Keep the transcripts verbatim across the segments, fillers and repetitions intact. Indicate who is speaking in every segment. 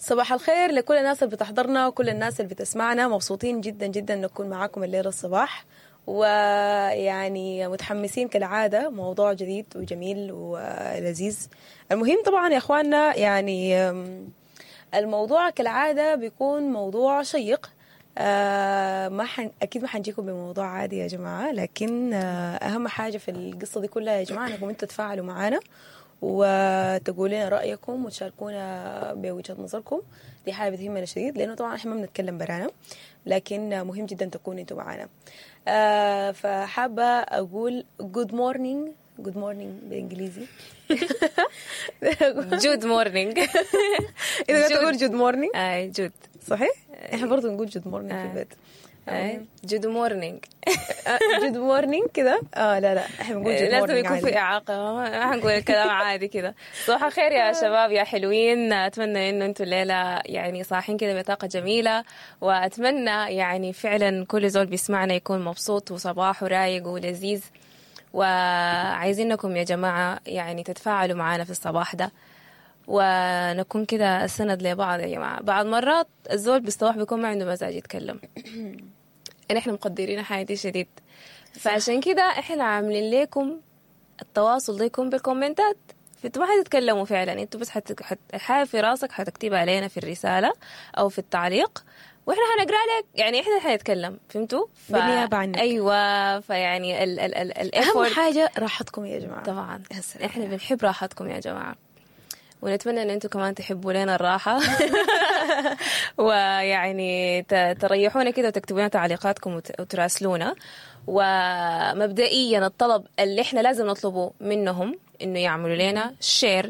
Speaker 1: صباح الخير لكل الناس اللي بتحضرنا وكل الناس اللي بتسمعنا. مبسوطين جدا جدا نكون معاكم الليلة الصباح، ويعني متحمسين كالعادة، موضوع جديد وجميل ولذيذ. المهم طبعا يا اخواننا يعني الموضوع كالعادة بيكون موضوع شيق. آه ما حن... اكيد ما حنجيكم بموضوع عادي يا جماعة، لكن آه اهم حاجة في القصة دي كلها يا جماعة انكم انتوا تتفاعلوا معانا وتقولوا لنا رايكم وتشاركونا بوجهه نظركم. دي حاجة بتهمنا شديد، لانه طبعا احنا ما بنتكلم برانا، لكن مهم جدا تكونوا انتوا معانا. آه فحابه اقول good morning. good morning بالانجليزي
Speaker 2: good morning.
Speaker 1: اذا تقول good morning.
Speaker 2: اي good.
Speaker 1: صحيح، احنا برضه نقول good morning في البيت.
Speaker 2: good morning.
Speaker 1: good morning كده. اه لا لا احنا بنقول good morning.
Speaker 2: لازم يكون في اعاقه، ما حنقول الكلام عادي كده. صباح الخير يا شباب يا حلوين، اتمنى انه انتم الليلة يعني صاحين كده بطاقة جميلة، واتمنى يعني فعلا كل زول بيسمعنا يكون مبسوط وصباحه رايق ولذيذ. وعايزينكم يا جماعة يعني تتفاعلوا معانا في الصباح ده، ونكون كده السند لبعض يا جماعة. بعض مرات الزول بالصباح بيكون ما عنده مزاج يتكلم، نحن مقدرين حاجة شديد، فعشان كده احنا عاملين لكم التواصل ده يكون بالكومنتات. فانتوا ما حتتكلموا فعلا، انتوا بس حت... حت... حاجة في راسك حتكتبها علينا في الرسالة او في التعليق، واحنا حنقرا لك، يعني احنا حنتكلم، فهمتوا؟
Speaker 1: ف... بالنيابة عنك.
Speaker 2: ايوه، فيعني ال ال ال ال
Speaker 1: اهم حاجة راحتكم يا جماعة.
Speaker 2: طبعا احنا بنحب راحتكم يا جماعة، ونتمنى ان انتم كمان تحبوا لنا الراحة ويعني تريحونا كده وتكتبوا لنا تعليقاتكم وتراسلونا. ومبدئيا الطلب اللي احنا لازم نطلبه منهم انه يعملوا لنا share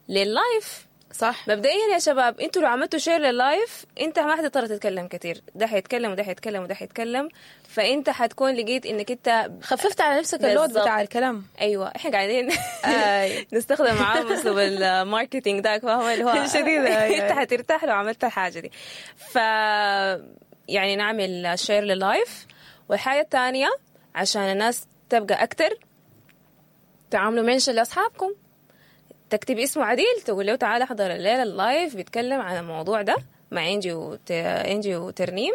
Speaker 2: لل live.
Speaker 1: صح.
Speaker 2: مبدئيا يا شباب انتوا لو عملتوا share لل live انت ما حتضطر تتكلم كتير، ده حيتكلم وده حيتكلم وده حيتكلم، فانت حتكون لقيت انك انت
Speaker 1: خففت على نفسك ال load بتاع الكلام.
Speaker 2: ايوه احنا قاعدين نستخدم معاهم اسلوب ال marketing ده، فاهمه اللي هو
Speaker 1: شديد.
Speaker 2: انت حترتاح لو عملت الحاجة دي. ف يعني نعمل share لل live. والحاجة الثانية عشان الناس تبقى اكتر، تعملوا mention لاصحابكم، تكتب اسمه عديل، تقول له تعال احضر الليلة ال live بيتكلم عن الموضوع ده مع انجي وت... انجي وترنيم.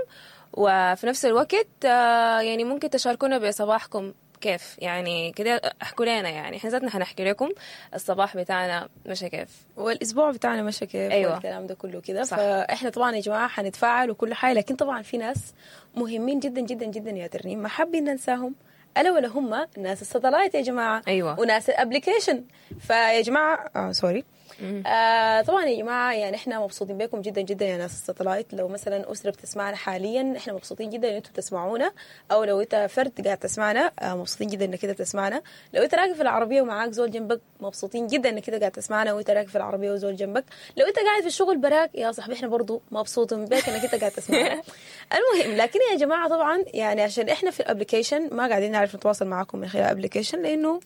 Speaker 2: وفي نفس الوقت يعني ممكن تشاركونا بصباحكم كيف، يعني كده احكوا لنا، يعني احنا ذاتنا حنحكي لكم الصباح بتاعنا مشى كيف
Speaker 1: والاسبوع بتاعنا مشى كيف. أيوة. والكلام ده كله كده. فاحنا طبعا يا جماعة حنتفاعل وكل حاجة، لكن طبعا في ناس مهمين جدا جدا جدا يا ترنيم ما حابين ننساهم، ألا ولا هم ناس ال satellite يا جماعة.
Speaker 2: أيوة.
Speaker 1: وناس ال application. فيا جماعة آه sorry آه طبعا يا جماعة يعني احنا مبسوطين بكم جدا جدا يا ناس ال satellite. لو مثلا أسرة بتسمعنا حاليا احنا مبسوطين جدا ان انتوا بتسمعونا، او لو انت فرد قاعد تسمعنا آه مبسوطين جدا انك كده بتسمعنا. لو انت راكب في العربية ومعاك زول جنبك مبسوطين جدا انك كده قاعد تسمعنا وانت راكب في العربية وزول جنبك. لو انت قاعد في الشغل براك يا صاحبي احنا برضو مبسوطين بك انك انت قاعد تسمعنا. المهم لكن يا جماعة طبعا يعني عشان احنا في ال application ما قاعدين نعرف نتواصل معاكم من خلال ال application لانه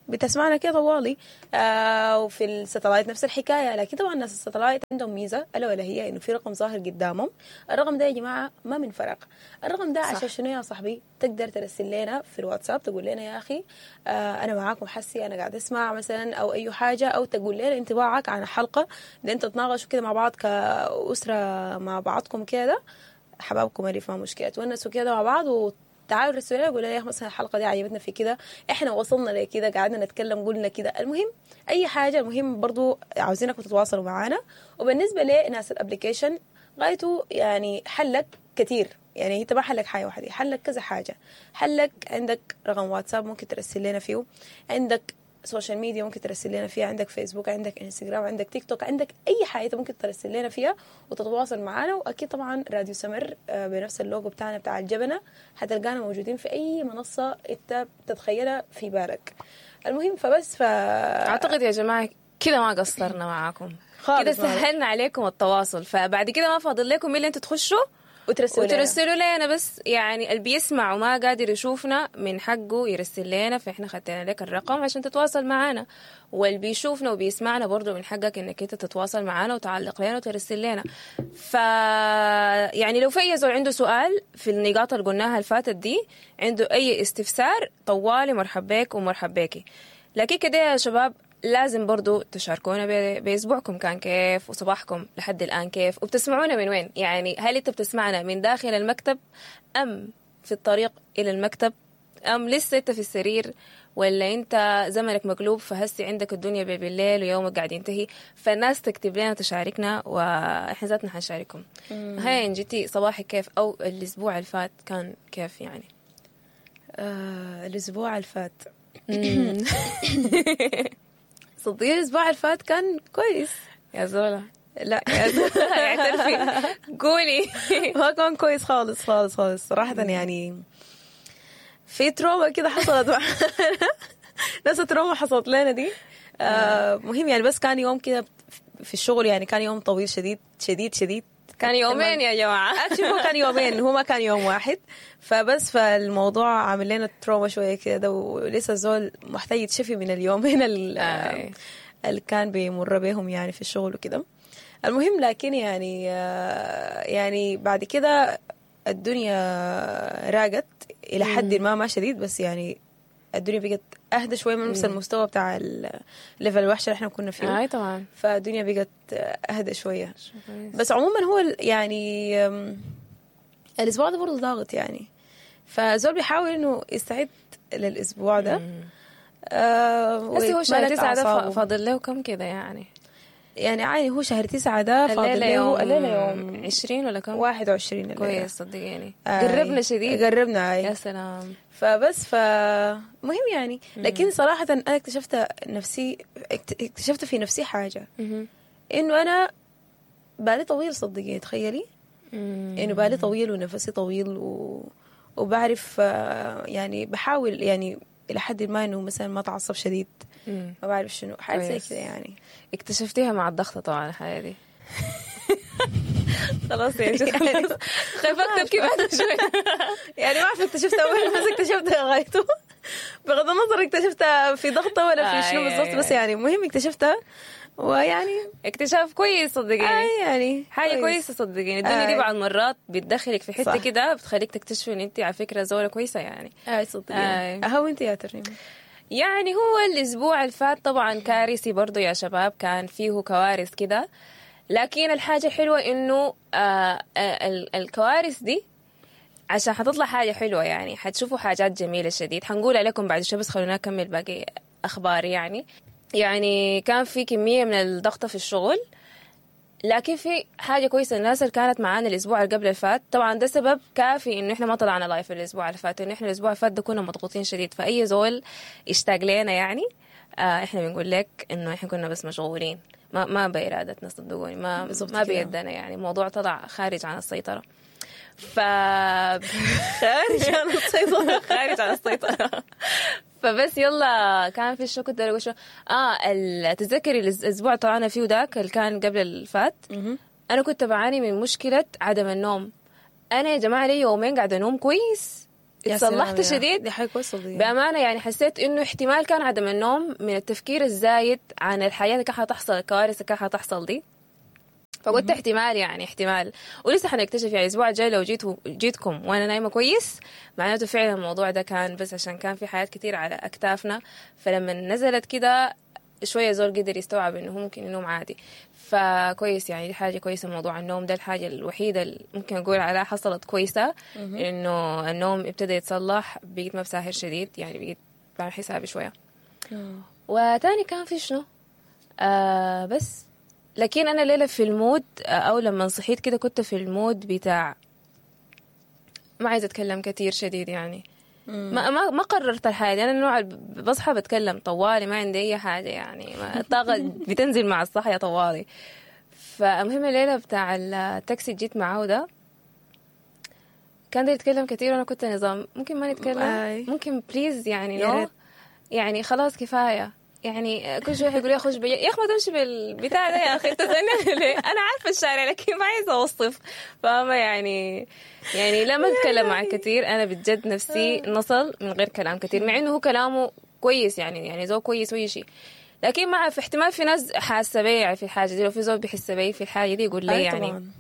Speaker 1: بتسمعنا كده طوالي، آه وفي ال satellite نفس الحكاية. لكن طبعا الناس ال satellite عندهم ميزة الا ولا هي انه في رقم ظاهر قدامهم. الرقم ده يا جماعة ما من فرق، الرقم ده عشان شنو يا صاحبي؟ تقدر ترسل لنا في الواتساب تقول لنا يا اخي آه انا معاكم حسي انا قاعد اسمع مثلا او اي حاجة، او تقول لنا انطباعك عن الحلقة ده، انت تتناقشوا كده مع بعض كاسره مع بعضكم كده، حبابكم اللي ما مشكلة، تونسوا كده مع بعض و تعالوا رسلوا لنا قولوا لنا يا اخي مثلا الحلقة دي عجبتنا في كده، احنا وصلنا لكده، قعدنا نتكلم قلنا كده. المهم اي حاجة، المهم برضو عاوزينكم تتواصلوا معانا. وبالنسبة لناس ال application غايته يعني حلك كتير، يعني انت ما حلك حاجة واحدة، حلك كذا حاجة. حلك عندك رقم واتساب ممكن ترسل لنا فيه، عندك social media ممكن ترسل لنا فيها، عندك فيسبوك، عندك انستغرام، عندك تيك توك، عندك اي حاجة ممكن ترسل لنا فيها وتتواصل معنا. واكيد طبعا راديو سمر بنفس اللوجو بتاعنا بتاع الجبنة حتلقانا موجودين في اي منصة انت بتتخيلها في بالك. المهم فبس ف
Speaker 2: اعتقد يا جماعة كده ما قصرنا معاكم كده، سهلنا عليكم التواصل. فبعد كده ما فاضل لكم الا انتوا تخشوا
Speaker 1: وترسلوا
Speaker 2: وترسلوا لنا بس. يعني اللي بيسمع وما قادر يشوفنا من حقه يرسل لنا، فإحنا خدنا لك الرقم عشان تتواصل معنا. واللي بيشوفنا وبيسمعنا برضو من حقك إنك أنت تتواصل معنا وتعلق لنا وترسل لنا. ف يعني لو في أي زول عنده سؤال في النقاط اللي قلناها اللي فاتت دي، عنده أي استفسار، طوالي مرحب بك ومرحب بيكي. لكن كده يا شباب لازم برضو تشاركونا ب- بأسبوعكم كان كيف، وصباحكم لحد الآن كيف، وبتسمعونا من وين. يعني هل انت بتسمعنا من داخل المكتب أم في الطريق إلى المكتب، أم لسه انت في السرير، ولا انت زمنك مقلوب فهسي عندك الدنيا بالليل ويومك قاعد ينتهي. فالناس تكتب لنا تشاركنا، واحنا ذاتنا حنشارككم. هاي انجتي صباحك كيف، او الاسبوع اللي فات كان كيف يعني؟
Speaker 1: آه الاسبوع اللي فات صدقيني الاسبوع اللي فات كان كويس.
Speaker 2: يا زولا
Speaker 1: لا يا زولا
Speaker 2: اعترفي قولي.
Speaker 1: ما كان كويس خالص خالص خالص صراحة. يعني في trauma كده حصلت معنا، نفس trauma حصلت لنا دي. آه مهم يعني، بس كان يوم كده في الشغل، يعني كان يوم طويل شديد شديد شديد.
Speaker 2: كان يومين يا جماعة.
Speaker 1: actually هو كان يومين، هو ما كان يوم واحد. فبس فالموضوع عامل لنا trauma شوية كده، ولسه الزول محتاج يتشفي من اليومين اللي كان بيمر بيهم يعني في الشغل وكده. المهم لكن يعني يعني بعد كده الدنيا راقت إلى حد ما، ما شديد بس يعني الدنيا بقت أهدى شوية من نفس المستوى بتاع ال level الوحش اللي احنا كنا فيه.
Speaker 2: اي طبعا.
Speaker 1: فالدنيا بقت أهدى شوية. بس عموما هو يعني الأسبوع ده برضه ضاغط يعني، فزول بيحاول إنه يستعد للأسبوع ده.
Speaker 2: آه بس هو شهر تسعة ده فاضل له كم كده يعني؟
Speaker 1: يعني عادي هو شهر تسعة ده فاضل له
Speaker 2: الليلة يوم عشرين ولا كم؟
Speaker 1: واحد وعشرين.
Speaker 2: كويس صدقيني آه قربنا شديد،
Speaker 1: قربنا.
Speaker 2: يا سلام.
Speaker 1: فبس فمهم يعني. لكن صراحة أنا اكتشفت نفسي، اكتشفت في نفسي حاجة، إنه أنا بالي طويل صدقيني. تخيلي إنه بالي طويل ونفسي طويل و... وبعرف يعني بحاول يعني إلى حد ما إنه مثلا ما تعصب شديد، ما بعرف شنو حاجة زي كده يعني.
Speaker 2: اكتشفتيها مع الضغط طبعا الحاجة دي. خلاص يعني خايفة تبكي بعد شوي.
Speaker 1: يعني ما أعرف اكتشفتها وين، بس اكتشفتها غايته بغض النظر اكتشفتها في ضغطة ولا في شنو بالضبط، بس يعني المهم اكتشفتها. ويعني
Speaker 2: اكتشاف كويس صدقيني.
Speaker 1: آه يعني
Speaker 2: حاجة كويسة صدقيني. الدنيا دي بعض المرات بتدخلك في حتة كده بتخليك تكتشفي ان انت على فكرة زوله كويسة يعني.
Speaker 1: اي صدقيني. اهو انت يا ترنيم.
Speaker 2: يعني هو الاسبوع اللي فات طبعا كارثي برضو يا شباب، كان فيه كوارث كده، لكن الحاجة الحلوة انه آه الكوارث دي عشان حتطلع حاجة حلوة يعني، حتشوفوا حاجات جميلة شديد حنقول عليكم بعد شوي، بس خلونا نكمل باقي اخبار. يعني يعني كان في كمية من الضغط في الشغل، لكن في حاجة كويسة الناس اللي كانت معانا الأسبوع اللي قبل الفات، طبعا ده سبب كافي إنه إحنا ما طلعنا live الأسبوع اللي فات، إنه إحنا الأسبوع اللي فات ده كنا مضغوطين شديد. فأي زول اشتاق لنا يعني آه إحنا بنقول لك إنه إحنا كنا بس مشغولين، ما ما بإرادتنا صدقوني، ما ما بيدنا يعني، الموضوع طلع خارج عن السيطرة. ف
Speaker 1: خارج عن السيطرة
Speaker 2: خارج عن السيطرة. فبس يلا كان في شو كنت اقول شو اه تتذكري الاسبوع طلعنا فيه ذاك اللي كان قبل الفات، انا كنت بعاني من مشكلة عدم النوم. انا يا جماعة لي يومين قاعدة انوم كويس، اتصلحت شديد
Speaker 1: دي حاجة كويسة
Speaker 2: بامانه. يعني حسيت انه احتمال كان عدم النوم من التفكير الزايد عن الحياة اللي كان حتحصل، الكوارث اللي كان حتحصل دي. فقلت احتمال يعني احتمال، ولسه حنكتشف يعني الاسبوع الجاي لو جيت جيتكم وانا نايمة كويس معناته فعلا الموضوع ده كان بس عشان كان في حاجات كتير على اكتافنا. فلما نزلت كده شوية زول قدر يستوعب انه ممكن ينوم عادي، فكويس يعني دي حاجة كويسة. موضوع النوم ده الحاجة الوحيدة اللي ممكن اقول عليها حصلت كويسة، انه النوم ابتدى يتصلح، بقيت ما بساهر شديد يعني، بقيت بعمل حسابي شوية. وتاني كان في شنو آه بس لكن أنا ليلة في ال mood، أو لما صحيت كده كنت في ال mood بتاع ما عايزة أتكلم كتير شديد يعني. ما ما ما قررت الحاجة. أنا النوع اللي بصحى بتكلم طوالي، ما عندي أي حاجة يعني، ما الطاقة بتنزل مع الصحية طوالي. فالمهم الليلة بتاع التاكسي جيت معه ده كان ده يتكلم كتير، وأنا كنت نظام ممكن ما نتكلم، ممكن please يعني no يعني خلاص كفاية يعني. كل شوي يقول لي اخش بي... يا اخي ما تمشي بالبتاع ده يا اخي، انت ليه؟ انا عارفه الشارع لكن ما عايزه اوصف، فاهمه يعني. يعني لا ما اتكلم معه كثير، انا بجد نفسي نصل من غير كلام كثير، مع انه هو كلامه كويس يعني، يعني زو كويس وأي شيء، لكن مع في احتمال في ناس حاسه بي في الحاجة دي، لو في زول بيحس بي في الحاجة دي يقول لي يعني طبعاً.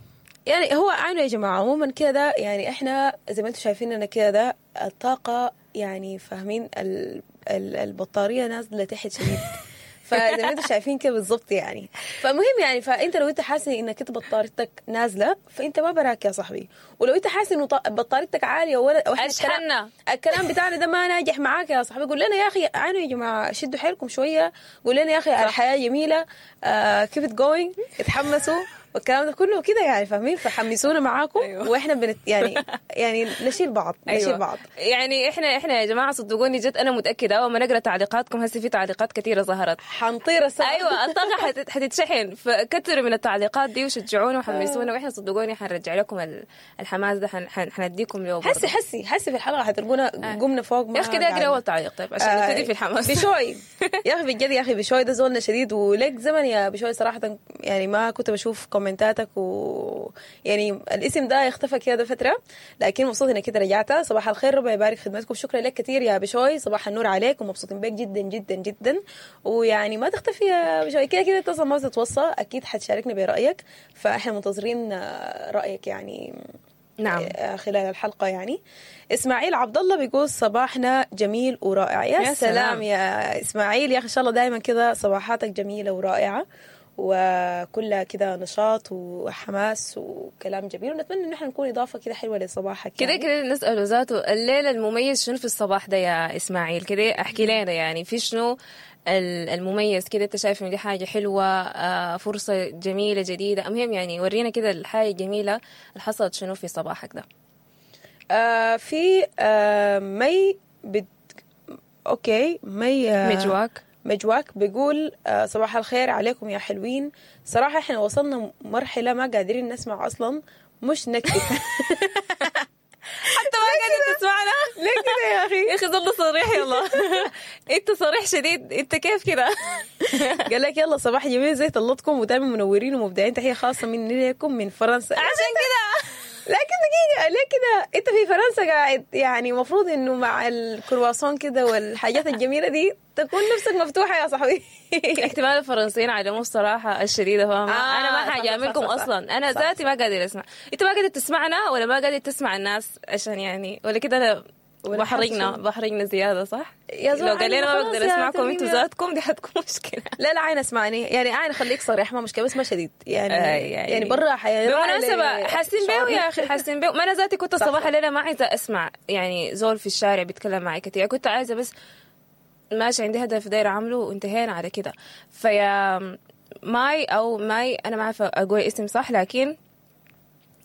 Speaker 1: يعني هو عنه يا جماعة عموما كده يعني، احنا زي ما انتم شايفين انا كده ده الطاقة يعني فاهمين ال البطارية نازلة تحت شديد. فزي ما انتم شايفين كده بالظبط يعني. فالمهم يعني فانت لو انت حاسس انك انت بطاريتك نازله فانت ما براك يا صاحبي، ولو انت حاسس انه ط- بطاريتك عالية ولا واحنا الكلام,
Speaker 2: اشحننا.
Speaker 1: الكلام بتاعنا ده ما ناجح معاك يا صاحبي، قول لنا يا اخي عانوا يا جماعة، شدوا حيلكم شوية، قول لنا يا اخي الحياة جميلة، keep it going، اتحمسوا والكلام ده كله كده يعني، فاهمين؟ فحمسونا معاكم.
Speaker 2: أيوة.
Speaker 1: واحنا بنت يعني يعني نشيل بعض، نشيل
Speaker 2: أيوة.
Speaker 1: بعض.
Speaker 2: يعني احنا احنا يا جماعة صدقوني جد انا متاكدة اول ما نقرا تعليقاتكم هسه في تعليقات كثيرة ظهرت.
Speaker 1: حنطير السما.
Speaker 2: ايوه الطاقة حتت- حتتشحن، فكتروا من التعليقات دي وشجعونا وحمسونا، واحنا صدقوني حنرجع لكم ال- الحماس ده، حن- حن- حنديكم له برضه.
Speaker 1: حسي حسي حسي في الحلقة حتلقونا قمنا فوق ما
Speaker 2: يا اخي كده اقرا
Speaker 1: قعدنا.
Speaker 2: اول تعليق طيب عشان
Speaker 1: آه،
Speaker 2: نبتدي في الحماس.
Speaker 1: بشوي يا اخي بجد يا اخي بشوي ده زولنا شديد، ولك زمن يا بشوي صراحة يعني ما كنت بشوف كومنتاتك و يعني الاسم ده اختفى كده فترة، لكن مبسوط انك كده رجعت. صباح الخير، ربنا يبارك خدمتكم، شكرا لك كثير يا بشوي، صباح النور عليك ومبسوطين بك جدا جدا جدا. ويعني ما تختفي يا بشوي، كده كده انت اصلا ما بتتوصى، اكيد حتشاركنا برايك، فاحنا منتظرين آه، رايك يعني
Speaker 2: نعم.
Speaker 1: آه، خلال الحلقة يعني. إسماعيل عبد الله بيقول صباحنا جميل ورائع. يا,
Speaker 2: يا
Speaker 1: سلام.
Speaker 2: سلام
Speaker 1: يا إسماعيل يا أخي، إن شاء الله دائما كده صباحاتك جميلة ورائعة وكلها كده نشاط وحماس وكلام جميل، ونتمنى إن احنا نكون إضافة كده حلوة لصباحك
Speaker 2: كده
Speaker 1: يعني.
Speaker 2: كده نسأله ذاته الليلة المميز شنو في الصباح ده يا إسماعيل؟ كده احكي لنا يعني في شنو ال- المميز كده، انت شايف انه دي حاجة حلوة، آه، فرصة جميلة جديدة، المهم يعني ورينا كده الحاجة الجميلة اللي حصلت شنو في صباحك ده.
Speaker 1: آه في آه مي بت... okay مي آه
Speaker 2: مجواك
Speaker 1: مجواك بيقول آه، صباح الخير عليكم يا حلوين. صراحة احنا وصلنا مرحلة ما قادرين نسمع أصلا، مش نكتب.
Speaker 2: حتى ما قادر تسمعنا
Speaker 1: ليه كده يا أخي؟
Speaker 2: يا اخي ظل صريح، يلا انت صريح شديد، انت كيف كده؟
Speaker 1: قال لك يلا صباح جميل زي طلتكم ودائما منورين ومبدعين، تحية خاصة مني لكم من فرنسا.
Speaker 2: عشان كده
Speaker 1: لكن دقيقة، ليه كده؟ انت في فرنسا قاعد يعني المفروض انه مع الكرواسون كده والحاجات الجميلة دي تكون نفسك مفتوحة يا صاحبي.
Speaker 2: احتمال الفرنسيين علموا الصراحة الشديدة، فاهمة؟
Speaker 1: آه،
Speaker 2: أنا ما
Speaker 1: صح،
Speaker 2: حاجاملكم
Speaker 1: صح، صح، صح.
Speaker 2: أصلا، أنا
Speaker 1: صح،
Speaker 2: ذاتي ما قادر أسمع. أنت ما قادر تسمعنا ولا ما قادر تسمع الناس عشان يعني ولا كده أنا
Speaker 1: ولا
Speaker 2: بحرجنا
Speaker 1: حاسة.
Speaker 2: بحرجنا زيادة صح؟
Speaker 1: يا زول
Speaker 2: لو قال لنا ما
Speaker 1: خلاص
Speaker 2: بقدر
Speaker 1: يا
Speaker 2: أسمعكم
Speaker 1: ترنيم
Speaker 2: أنتوا
Speaker 1: يا-
Speaker 2: ذاتكم دي حتكون مشكلة.
Speaker 1: لا لا عين اسمعني يعني، عين خليك صريح ما مشكلة بس ما شديد يعني.
Speaker 2: آه، يعني-
Speaker 1: يعني برا حي...
Speaker 2: بالمناسبة حاسين بيه يا أخي، حاسين بيه. ما أنا ذاتي كنت
Speaker 1: صح،
Speaker 2: الصباح
Speaker 1: صح.
Speaker 2: الليلة ما عايزة أسمع يعني زول في الشارع بيتكلم معي كثير، كنت عايزة بس ماشي عندي هدف داير أعمله وانتهينا على كده. فيا ماي أو ماي، أنا ما عارفة أقول اسم صح، لكن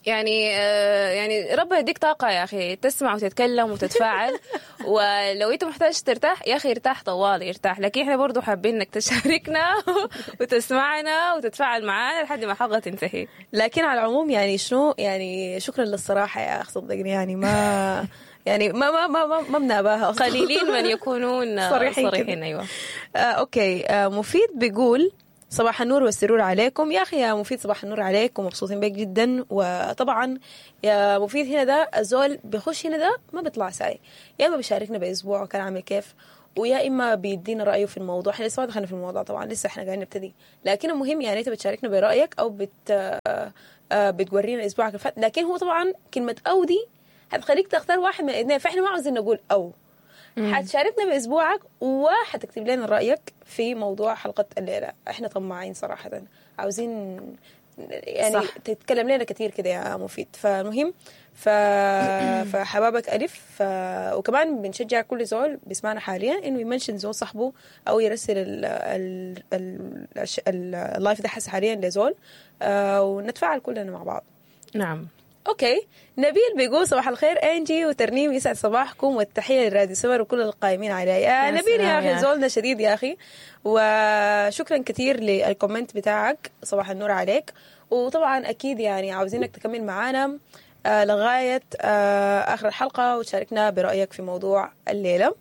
Speaker 2: يعني آه، يعني ربنا يديك طاقة يا أخي تسمع وتتكلم وتتفاعل. ولو أنت محتاج ترتاح يا أخي ارتاح طوالي ارتاح، لكن إحنا برضو حابين إنك تشاركنا وتسمعنا وتتفاعل معانا لحد ما الحلقة تنتهي.
Speaker 1: لكن على العموم يعني شنو يعني، شكرا للصراحة يا أخ، صدقني يعني ما يعني ما ما ما ما, ما بناباها أصلاً.
Speaker 2: قليلين من يكونون
Speaker 1: صريحين كده.
Speaker 2: صريحين. أيوة.
Speaker 1: آه okay. آه مفيد بيقول صباح النور والسرور عليكم. يا أخي يا مفيد صباح النور عليك ومبسوطين بك جدا. وطبعا يا مفيد هنا ده الزول بيخش هنا ده ما بيطلع ساي، يا إما بيشاركنا بأسبوع كان عامل كيف، ويا إما بيدينا رأيه في الموضوع. احنا لسه ما دخلنا في الموضوع طبعا، لسه احنا قاعدين نبتدي، لكن المهم يعني انت بتشاركنا برأيك أو بت آه، آه، بتورينا أسبوعك اللي فات. لكن هو طبعا كلمة أو دي هتخليك تختار واحد من الاثنين، فاحنا ما عاوزين نقول أو. حتشاركنا باسبوعك وحتكتب لنا رايك في موضوع حلقة الليلة. احنا طماعين صراحة، عاوزين يعني
Speaker 2: صح.
Speaker 1: صح. تتكلم لنا كثير كده يا مفيد. فالمهم ف... فحبابك الف ف... وكمان بنشجع كل زول بيسمعنا حاليا انه ي mention زول صاحبه او يرسل ال... ال... ال... الش- ال... ال live ده حس حاليا لزول، آه ونتفاعل كلنا مع بعض.
Speaker 2: نعم.
Speaker 1: okay نبيل بيقول صباح الخير انجي وترنيم، يسعد صباحكم والتحيه لراديو سمر وكل القائمين عليه. يا
Speaker 2: يا
Speaker 1: نبيل يا
Speaker 2: سلام
Speaker 1: اخي
Speaker 2: يا
Speaker 1: زولنا شديد يا اخي، وشكرا كثير لل comment بتاعك، صباح النور عليك. وطبعا اكيد يعني عاوزينك تكمل معانا آه، لغاية آه، اخر الحلقة وتشاركنا برايك في موضوع الليلة.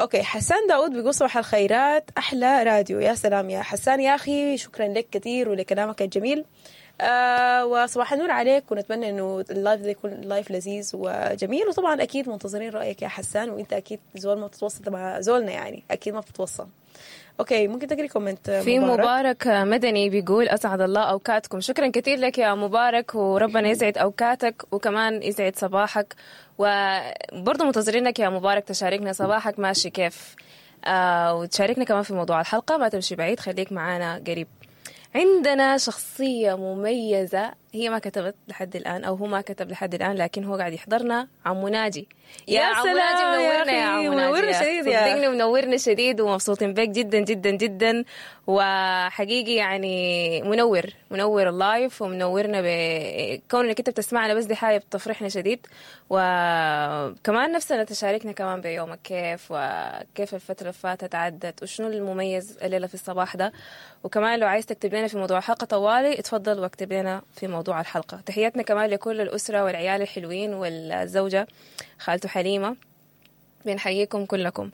Speaker 1: okay حسان داود بيقول صباح الخيرات احلى راديو. يا سلام يا حسان يا اخي، شكرا لك كثير ولكلامك الجميل. آه وصباح النور عليك، ونتمنى انه ال live ده يكون live لذيذ وجميل. وطبعا اكيد منتظرين رايك يا حسان، وانت اكيد زول ما بتتوصل مع زولنا يعني اكيد ما بتتوصل. okay ممكن تقري comment
Speaker 2: في مبارك مدني بيقول اسعد الله اوقاتكم. شكرا كثير لك يا مبارك، وربنا يسعد اوقاتك وكمان يسعد صباحك. وبرضه منتظرينك يا مبارك تشاركنا صباحك ماشي كيف. آه وتشاركنا كمان في موضوع الحلقة. ما تمشي بعيد، خليك معانا قريب. عندنا شخصية مميزة، هي ما كتبت لحد الآن أو هو ما كتب لحد الآن، لكن هو قاعد يحضرنا، عمو ناجي. يا, يا عمو ناجي منورنا يا عمو ناجي،
Speaker 1: منورنا شديد يا
Speaker 2: صدقني، منورنا شديد ومبسوطين بك جدا جدا جدا، وحقيقي يعني منور منور ال live ومنورنا بكون انك انت بتسمعنا، بس دي حاجة بتفرحنا شديد. وكمان نفسنا تشاركنا كمان بيومك كيف، وكيف الفترة اللي فاتت عدت، وشنو المميز الليلة في الصباح ده. وكمان لو عايز تكتب لنا في موضوع الحلقة طوالي اتفضل واكتب لنا في موضوع الحلقة. تحياتنا كمان لكل الأسرة والعيال الحلوين والزوجة خالته حليمة، بنحييكم كلكم.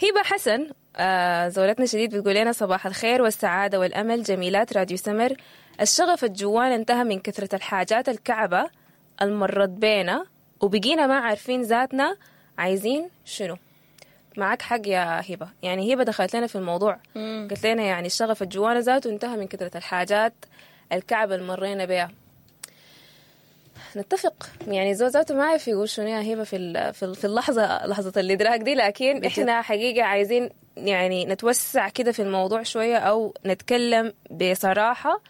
Speaker 2: هبة حسن آه زولتنا شديد بتقول لنا صباح الخير والسعادة والأمل، جميلات راديو سمر. الشغف الجوان انتهى من كثرة الحاجات الكعبة المرت بينا، وبقينا ما عارفين ذاتنا عايزين شنو. معك حق يا هبة، يعني هبة دخلت لنا في الموضوع، قلت لنا يعني الشغف الجوانة ذاته انتهى من كثرة الحاجات الكعبة اللي مرينا بها. نتفق يعني زول ذاته ما عارف يقول شنو يا هبة في في اللحظة، لحظة الإدراك دي، لكن احنا حقيقة عايزين يعني نتوسع كده في الموضوع شوية، أو نتكلم بصراحة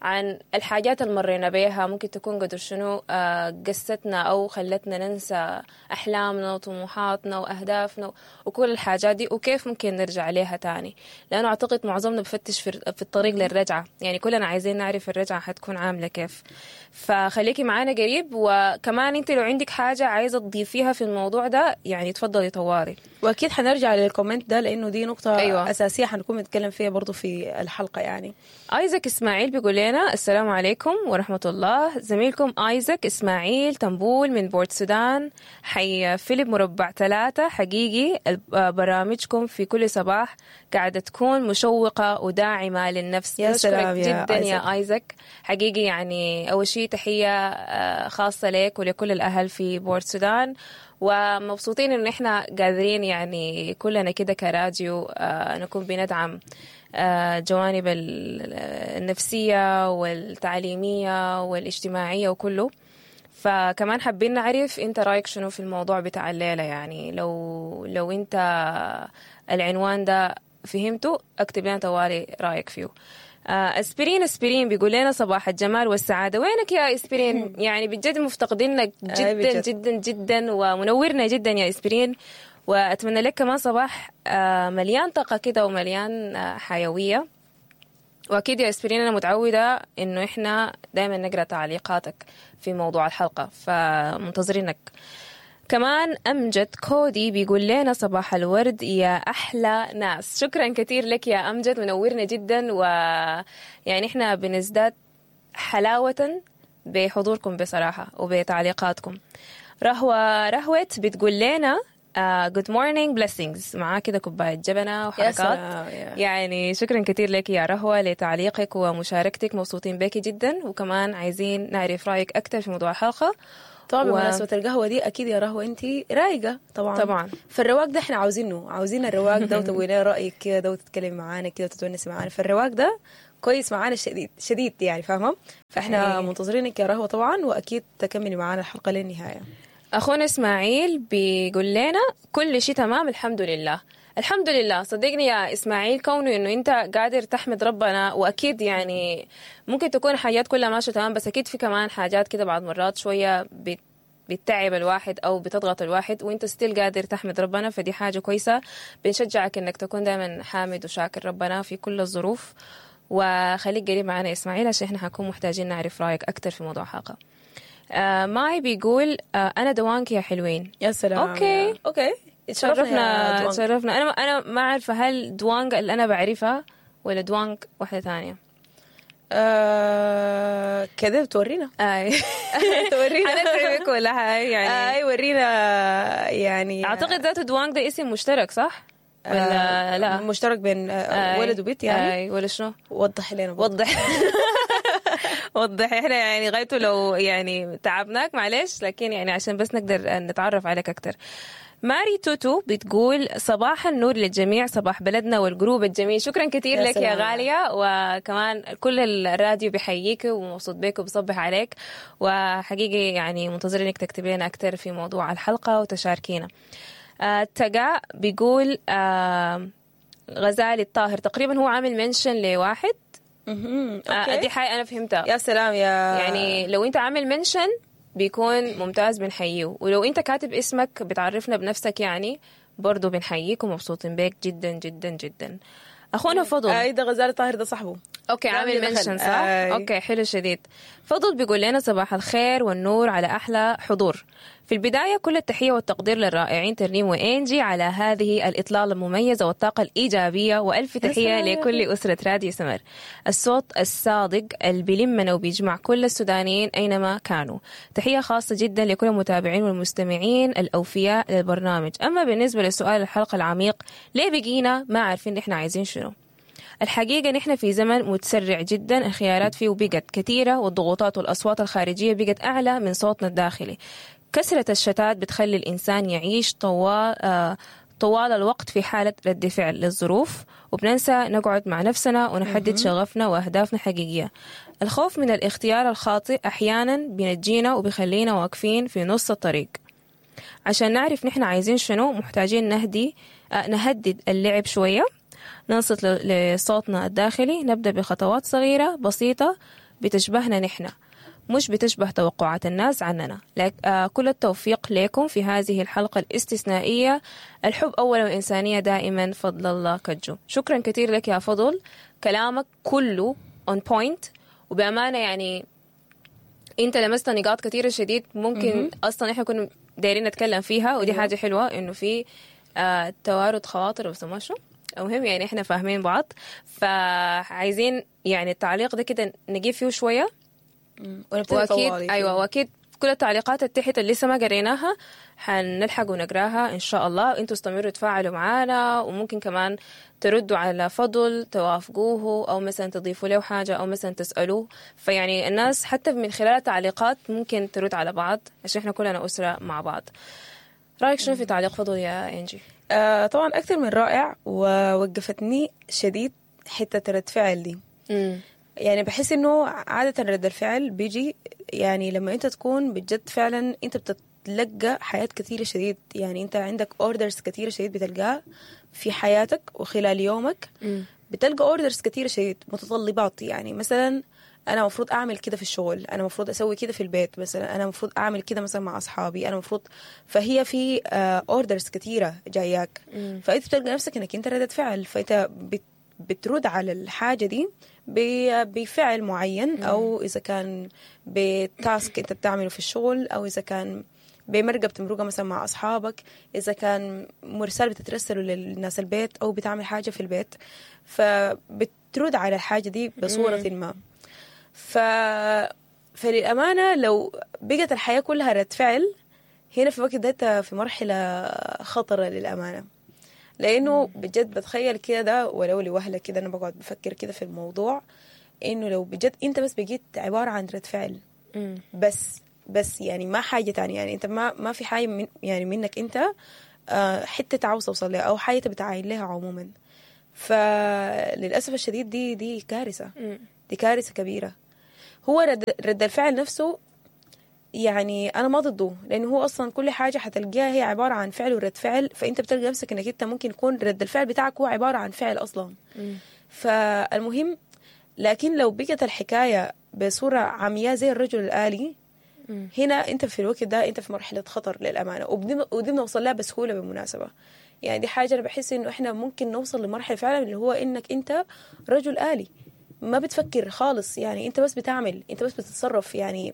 Speaker 2: عن الحاجات اللي مرينا بيها، ممكن تكون قدر شنو قستنا أو خلتنا ننسى أحلامنا وطموحاتنا وأهدافنا وكل الحاجات دي، وكيف ممكن نرجع ليها تاني، لأنه أعتقد معظمنا بفتش في الطريق للرجعة، يعني كلنا عايزين نعرف الرجعة حتكون عاملة كيف. فخليكي معانا قريب، وكمان انت لو عندك حاجة عايزة تضيفيها في الموضوع ده يعني تفضلي طوالي.
Speaker 1: وأكيد حنرجع لل comment ده لأنه دي نقطة أيوة. أساسية حنكون نتكلم فيها برضو في الحلقة. يعني
Speaker 2: آيزك إسماعيل بيقول لنا السلام عليكم ورحمة الله، زميلكم آيزك إسماعيل تنبول من بورت السودان، حي فيليب مربع ثلاثة. حقيقي برامجكم في كل صباح قاعدة تكون مشوقة وداعمة للنفس.
Speaker 1: يا سلام
Speaker 2: يا جدا آيزك. يا آيزك حقيقي يعني أول شيء تحية خاصة لك ولكل الأهل في بورت السودان، ومبسوطين إنه إحنا قادرين يعني كلنا كده كراديو نكون بندعم جوانب النفسية والتعليمية والاجتماعية وكله. فكمان حابين نعرف انت رايك شنو في الموضوع بتاع الليلة، يعني لو لو انت العنوان ده فهمته اكتب لنا طوالي رايك فيه. اسبرين اسبرين بيقول لنا صباح الجمال والسعادة. وينك يا اسبرين؟ يعني بجد مفتقدينك جدا جدا جدا، ومنورنا جدا يا اسبرين، وأتمنى لك كمان صباح مليان طاقة كده ومليان حيوية. وأكيد يا إسبرين أنا متعودة إنه إحنا دايما نقرأ تعليقاتك في موضوع الحلقة، فمنتظرينك. كمان أمجد كودي بيقول لنا صباح الورد يا أحلى ناس. شكرا كثير لك يا أمجد، منورنا جدا، ويعني إحنا بنزداد حلاوة بحضوركم بصراحة وبتعليقاتكم. رهوة رهوت بتقول لنا good morning blessings، معاه كده كوباية جبنة وحركات. يعني شكرا كثير لك يا رهوة لتعليقك ومشاركتك، مبسوطين بك جدا، وكمان عايزين نعرف رأيك أكثر في موضوع الحلقة.
Speaker 1: طبعا و... بمناسبة القهوة دي أكيد يا رهوة أنت رايقة طبعا
Speaker 2: طبعا،
Speaker 1: فالرواق ده احنا عاوزينه، عاوزين الرواق ده وتقولي رأيك كده وتتكلم معانا كده وتتونسي معانا، فالرواق ده كويس معانا شديد شديد يعني فاهمة. فاحنا منتظرينك يا رهوة طبعا، وأكيد تكملي معانا الحلقة للنهاية.
Speaker 2: أخونا إسماعيل بيقول لنا كل شيء تمام الحمد لله. الحمد لله، صدقني يا إسماعيل كونه إنه أنت قادر تحمد ربنا، وأكيد يعني ممكن تكون حاجات كلها ماشية تمام، بس أكيد في كمان حاجات كده بعض مرات شوية بت بتتعب الواحد أو بتضغط الواحد، وأنت ستيل قادر تحمد ربنا، فدي حاجة كويسة. بنشجعك إنك تكون دايما حامد وشاكر ربنا في كل الظروف، وخليك قريب معنا إسماعيل عشان إحنا حنكون محتاجين نعرف رأيك أكتر في موضوع حلقة. آه ماي بيقول آه أنا دوانك يا حلوين.
Speaker 1: يا سلام.
Speaker 2: okay
Speaker 1: okay
Speaker 2: تشرفنا تشرفنا. أنا أنا ما عارفة هل دوانك اللي أنا بعرفها ولا دوانك واحدة ثانية.
Speaker 1: آه كده بتورينا.
Speaker 2: أي
Speaker 1: تورينا
Speaker 2: أنا تعبك ولا هاي يعني.
Speaker 1: أي ورينا يعني.
Speaker 2: أعتقد ذاته دوانك ده اسم مشترك صح؟ ولا آه لا
Speaker 1: مشترك بين آه ولد وبنت يعني.
Speaker 2: أي ولا شنو؟
Speaker 1: وضح لنا.
Speaker 2: وضح وضح. احنا يعني غايته لو يعني تعبناك معلش، لكن يعني عشان بس نقدر نتعرف عليك اكتر. ماري توتو بتقول صباح النور للجميع، صباح بلدنا وال group الجميل. شكرا كثير لك يا غالية، وكمان كل الراديو بيحييك ومبسوط بك وبصبح عليك، وحقيقي يعني منتظرينك تكتبي لنا اكثر في موضوع الحلقة وتشاركينا. آه تقا بيقول آه غزالي الطاهر تقريبا هو عامل mention لواحد.
Speaker 1: مهم.
Speaker 2: آه
Speaker 1: okay.
Speaker 2: دي حاجة انا فهمتها.
Speaker 1: يا سلام يا
Speaker 2: يعني لو انت عامل mention بيكون ممتاز بنحييه، ولو انت كاتب اسمك بتعرفنا بنفسك يعني برضو بنحييك ومبسوطين بيك جدا جدا جدا. اخونا فضل.
Speaker 1: اي ده غزالي طاهر ده صاحبه.
Speaker 2: okay عامل
Speaker 1: دخل.
Speaker 2: mention صح؟
Speaker 1: أي.
Speaker 2: okay حلو شديد. فضل بيقول لنا صباح الخير والنور على احلى حضور. في البداية كل التحية والتقدير للرائعين ترنيم وانجي على هذه الاطلاله المميزة والطاقة الايجابية، والف تحية
Speaker 1: سلام.
Speaker 2: لكل اسره راديو سمر. الصوت الصادق اللي بيلمنا وبيجمع كل السودانيين اينما كانوا. تحية خاصة جدا لكل المتابعين والمستمعين الاوفياء للبرنامج. اما بالنسبة لسؤال الحلقة العميق، ليه بقينا ما عارفين نحن عايزين شنو؟ الحقيقة نحن في زمن متسرع جدا، الخيارات فيه بقت كثيرة، والضغوطات والأصوات الخارجية بقت أعلى من صوتنا الداخلي. كثرة الشتات بتخلي الإنسان يعيش طوال آه طوال الوقت في حالة رد فعل للظروف، وبننسى نقعد مع نفسنا ونحدد شغفنا وأهدافنا الحقيقية. الخوف من الاختيار الخاطئ أحيانا بينجينا وبيخلينا واقفين في نص الطريق. عشان نعرف نحن عايزين شنو محتاجين نهدي آه، نهدد اللعب شوية، ننصت ل- لصوتنا الداخلي، نبدأ بخطوات صغيرة بسيطة بتشبهنا نحن، مش بتشبه توقعات الناس عننا. لك آه كل التوفيق لكم في هذه الحلقة الاستثنائية. الحب أولا والإنسانية دائما. فضل الله كجو. شكرا كثير لك يا فضل، كلامك كله on point، وبأمانة يعني انت لمست نقاط كثيرة شديد ممكن اصلا احنا كنا دايرين نتكلم فيها، ودي حاجة حلوة انه في آه توارد خواطر وسموه شنو، المهم يعني احنا فاهمين بعض. فعايزين يعني التعليق ده كده نجيب فيه شوية،
Speaker 1: ونبتدي
Speaker 2: واكيد
Speaker 1: طوالي.
Speaker 2: ايوه واكيد كل التعليقات التحت اللي لسه ما قريناها حنلحق ونقراها ان شاء الله. انتوا استمروا تفاعلوا معانا، وممكن كمان تردوا على فضل توافقوه، او مثلا تضيفوا له حاجة، او مثلا تسالوه. فيعني الناس حتى من خلال التعليقات ممكن ترد على بعض، عشان احنا كلنا اسره مع بعض. رايك شنو في تعليق فضل يا انجي؟
Speaker 1: آه طبعا اكثر من رائع، ووقفتني شديد حتة رد فعل دي.
Speaker 2: امم
Speaker 1: يعني بحس انه عادة رد الفعل بيجي يعني لما انت تكون بجد فعلا انت بتتلقى حياة كثيرة شديد، يعني انت عندك orders كثيرة شديد بتلقاها في حياتك وخلال يومك، بتلقى orders كثيرة شديد، متطلبات. يعني مثلا انا المفروض اعمل كده في الشغل، انا المفروض اسوي كده في البيت مثلا، انا المفروض اعمل كده مثلا مع اصحابي، انا المفروض، فهي في orders كثيرة جاياك، فانت بتلقى نفسك انك انت ردة فعل، فانت بت بترد على الحاجة دي ب- بفعل معين، أو إذا كان ب task أنت بتعمله في الشغل، أو إذا كان بمرقة بتمرقها مثلا مع أصحابك، إذا كان مرسال بتترسله للناس البيت، أو بتعمل حاجة في البيت، فبترد على الحاجة دي بصورة ما. ف... فللأمانة لو بقت الحياة كلها رد فعل، هنا في الوقت ده أنت في مرحلة خطرة للأمانة، لانه بجد بتخيل كده ده ولو لوهله كده انا بقعد بفكر كده في الموضوع، انه لو بجد انت بس بقيت عبارة عن رد فعل بس بس يعني ما حاجة تانية، يعني انت ما ما في حاجة من يعني منك انت آه، حتة عاوز توصل لها او حاجة بتعاين لها عموما. فللاسف الشديد دي دي كارثة، دي كارثة كبيرة. هو رد, رد الفعل نفسه يعني انا ما ضده، لانه هو اصلا كل حاجة حتلقاها هي عبارة عن فعل ورد فعل، فانت بتلقى نفسك انك انت ممكن يكون رد الفعل بتاعك هو عبارة عن فعل اصلا. فالمهم لكن لو بقت الحكاية بصورة عمياء زي الرجل الالي، هنا انت في الوقت ده انت في مرحلة خطر للامانة، وبدي ودي بنوصل لها بسهولة بالمناسبة. يعني دي حاجة انا بحس انه احنا ممكن نوصل لمرحلة فعلا اللي هو انك انت رجل الي ما بتفكر خالص، يعني انت بس بتعمل، انت بس بتتصرف، يعني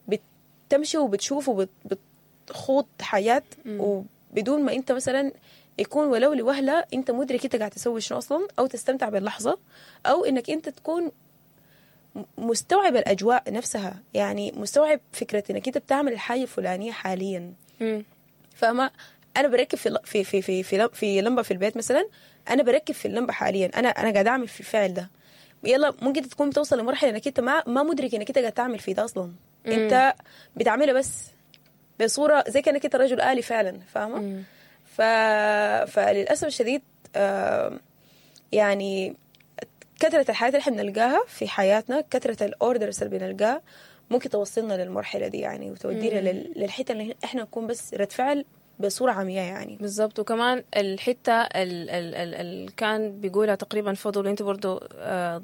Speaker 1: بتمشي وبتشوف وبتخوض حياة وبدون ما انت مثلا يكون ولو لوهلة انت مدرك انت قاعد تسوي شنو اصلا، او تستمتع باللحظة، او انك انت تكون مستوعب الاجواء نفسها، يعني مستوعب فكرة انك انت بتعمل الحاجة الفلانية حاليا. فاهمة؟ انا بركب في في في في في, في لمبة في البيت مثلا، انا بركب في اللمبة حاليا، انا انا قاعد اعمل في الفعل ده. يلا ممكن تكون بتوصل لمرحلة انك انت ما ما مدرك انك انت قاعد تعمل في ده اصلا، انت بتعملها بس بصورة زي كانك انت رجل آلي فعلا، فاهمه؟ ف... فللاسف الشديد آه يعني كثرة الحاجات اللي احنا بنلقاها في حياتنا، كثرة ال orders اللي بنلقاها ممكن توصلنا للمرحلة دي يعني، وتودينا لل... للحتة اللي احنا نكون بس رد فعل بصورة عمياء يعني.
Speaker 2: بالضبط. وكمان الحتة اللي كان بيقولها تقريبا فضل، وانت برضو آه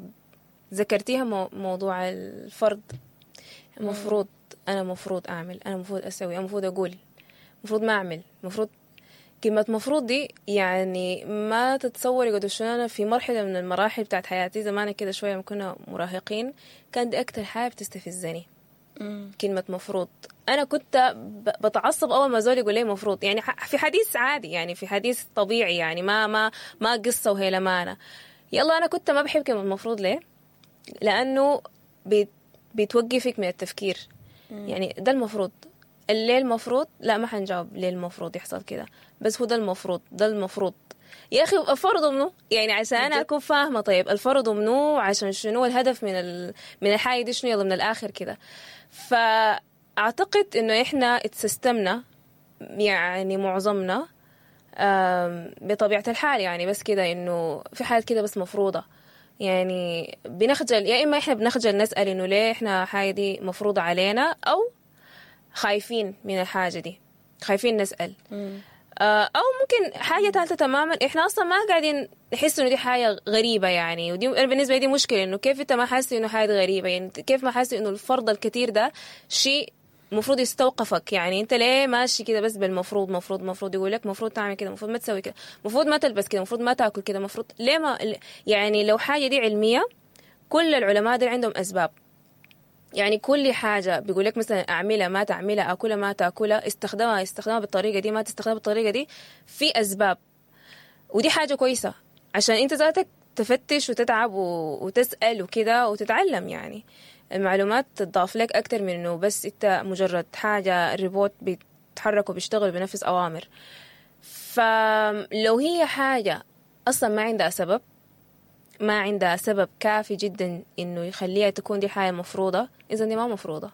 Speaker 2: ذكرتيها، مو موضوع الفرض. المفروض انا مفروض اعمل، انا مفروض اسوي، انا مفروض اقول، مفروض ما اعمل، مفروض. كلمة مفروض دي يعني ما تتصوري قد شنو. انا في مرحلة من المراحل بتاعت حياتي زمان كده شوية لما كنا مراهقين، كان دي اكتر حاجة بتستفزني كلمة مفروض. أنا كنت بتعصب أول ما زول يقول لي مفروض، يعني في حديث عادي، يعني في حديث طبيعي، يعني ما ما ما قصة وهي لمانة. يلا أنا كنت ما بحب كلمة مفروض. ليه؟ لأنه بيت بتوقفك من التفكير. مم. يعني ده المفروض، ليه المفروض؟ لا ما حنجاوب ليه المفروض يحصل كده، بس هو ده المفروض، ده المفروض. يا أخي الفرض منو؟ يعني عشان أنا أكون فاهمة طيب الفرض منو، عشان شنو الهدف من ال... من الحاجة دي شنو، يلا من الآخر كده. فأعتقد إنه إحنا اتسستمنا يعني معظمنا بطبيعة الحال، يعني بس كده إنه في حاجات كده بس مفروضة، يعني بنخجل، يا إما إحنا بنخجل نسأل إنه ليه إحنا حاجة دي مفروضة علينا، أو خايفين من الحاجة دي، خايفين نسأل. مم. أو ممكن حاجة ثالثة تماما، إحنا أصلا ما قاعدين نحس إنه دي حاجة غريبة يعني، ودي أنا بالنسبة لي دي مشكلة، إنه كيف أنت ما حاسس إنه حاجة غريبة، يعني كيف ما حاسس إنه الفرض الكثير ده شيء مفروض يستوقفك، يعني أنت ليه ماشي كده بس بالمفروض، مفروض مفروض يقول لك مفروض تعمل كده، مفروض ما تسوي كده، مفروض ما تلبس كده، مفروض ما تاكل كده، مفروض ليه ما، يعني لو حاجة دي علمية كل العلماء دي عندهم أسباب، يعني كل حاجة بيقول لك مثلا أعملها ما تعملها، أكلها ما تأكلها، استخدمها استخدمها بالطريقة دي ما تستخدمها بالطريقة دي، في أسباب. ودي حاجة كويسة عشان أنت ذاتك تفتش وتتعب وتسأل وكده وتتعلم، يعني المعلومات تضاف لك أكتر من إنه بس أنت مجرد حاجة الريبوت بيتحرك وبيشتغل بنفس أوامر. فلو هي حاجة أصلا ما عندها سبب، ما عندها سبب كافي جدا إنه يخليها تكون دي حاجة مفروضة، إذا دي ما مفروضة،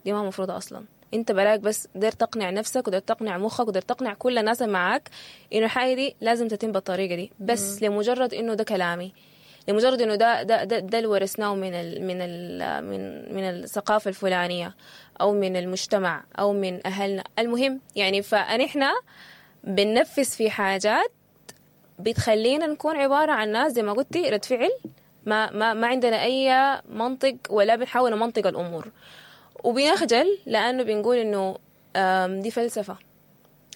Speaker 2: دي ما مفروضة أصلا. أنت براك بس دير تقنع نفسك ودير تقنع مخك ودير تقنع كل الناس معاك إنه الحاجة دي لازم تتم بالطريقة دي، بس مم. لمجرد إنه ده كلامي، لمجرد إنه ده ده ده, ده اللي ورثناه من ال من ال من من الثقافة الفلانية أو من المجتمع أو من أهلنا. المهم يعني فنحن بننفذ في حاجات بتخلينا نكون عبارة عن ناس زي ما قلتي رد فعل، ما ما ما عندنا أي منطق ولا بنحاول نمنطق الأمور، وبنخجل لأنه بنقول إنه دي فلسفة.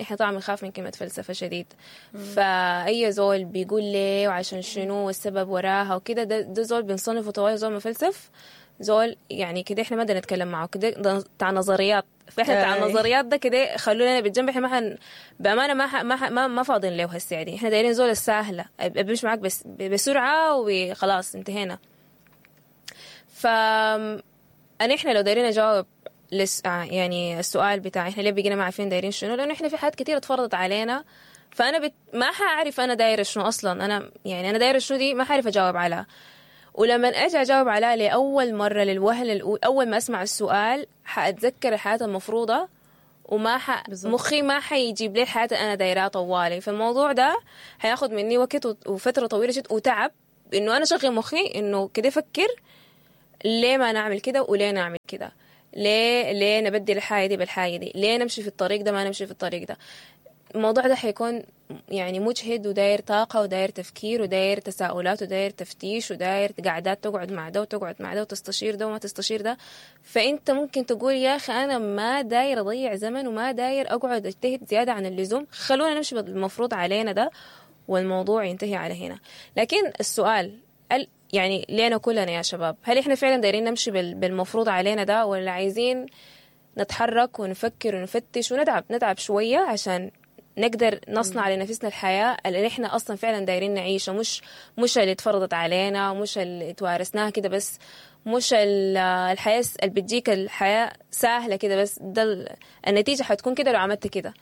Speaker 2: إحنا طبعا بنخاف من كلمة فلسفة شديد. مم. فأي زول بيقول ليه وعشان شنو والسبب وراها وكده، ده, ده زول بنصنفه طوال زول مفلسف، زول يعني كده إحنا ما بدنا نتكلم معه كده بتاع نظريات. فإحنا بتاع النظريات ده كده خلونا بالجنب، إحنا ما حن بأمانة ما ح... ما ح... ما, ما فاضين له هالساعة دي، إحنا دايرين زول السهلة بمشي معك بس بسرعة وخلاص انتهينا. ف أنا إحنا لو دايرين نجاوب لس... يعني السؤال بتاع إحنا ليه بقينا ما عارفين دايرين شنو، لأنه إحنا في حاجات كتير اتفرضت علينا، فأنا بت... ما حأعرف أنا دايرة شنو أصلا، أنا يعني أنا دايرة شنو دي ما حعرف أجاوب عليها. ولما أجي أجاوب عليها لأول مرة للوهلة الأولى، أول ما أسمع السؤال حأتذكر الحياة المفروضة، وما ح... مخي ما حيجيب لي الحياة أنا دايرها طوالي. فالموضوع ده حياخد مني وقت وفترة طويلة جدا وتعب إنه أنا شغل مخي إنه كده فكر ليه ما نعمل كده وليه نعمل كده، ليه ليه نبدل الحاجة دي بالحاجة دي، ليه نمشي في الطريق ده ما نمشي في الطريق ده. الموضوع ده حيكون يعني مجهد وداير طاقة وداير تفكير وداير تساؤلات وداير تفتيش وداير قعدات تقعد مع ده وتقعد مع ده وتستشير ده وما تستشير ده. فأنت ممكن تقول يا أخي أنا ما داير أضيع زمن وما داير أقعد أجتهد زيادة عن اللزوم، خلونا نمشي بالمفروض علينا ده والموضوع ينتهي على هنا. لكن السؤال يعني لينا كلنا يا شباب، هل إحنا فعلا دايرين نمشي بالمفروض علينا ده، ولا عايزين نتحرك ونفكر ونفتش ونتعب نتعب شوية عشان نقدر نصنع لنفسنا الحياة اللي احنا أصلا فعلا دايرين نعيشها، مش مش اللي اتفرضت علينا، مش اللي توارثناها كده بس، مش الحياة اللي بتجيك الحياة سهلة كده بس، ده النتيجة حتكون كده لو عملت كده.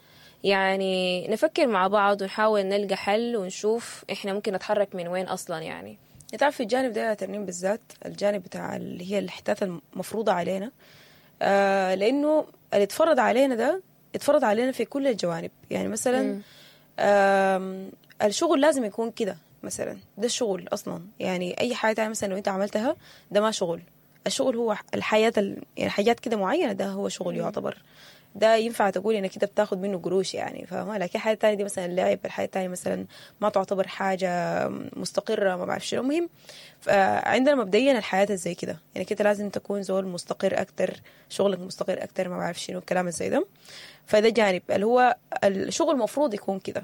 Speaker 2: يعني نفكر مع بعض ونحاول نلقى حل ونشوف احنا ممكن نتحرك من وين أصلا. يعني
Speaker 1: تعرف في الجانب ده يا ترنيم بالذات، الجانب بتاع اللي هي الأحداث المفروضة علينا، آه لأنه اللي اتفرض علينا ده اتفرض علينا في كل الجوانب. يعني مثلا الشغل لازم يكون كده مثلا، ده الشغل أصلا، يعني أي حاجة تانية مثلا لو أنت عملتها ده ما شغل. الشغل هو الحياة ال... يعني حاجات كده معينة ده هو شغل يعتبر. ده ينفع تقول انك انت بتاخد منه قروش يعني، فاهمه؟ لكن الحاجة الثانية دي مثلا اللعب، الحاجة الثانية مثلا ما تعتبر حاجة مستقره، ما بعرف شنو. المهم عندنا مبدئيا الحياة زي كده يعني، كده لازم تكون زول مستقر اكتر، شغلك مستقر اكتر، ما بعرف شنو الكلام زي ده. فده جانب اللي هو الشغل المفروض يكون كده.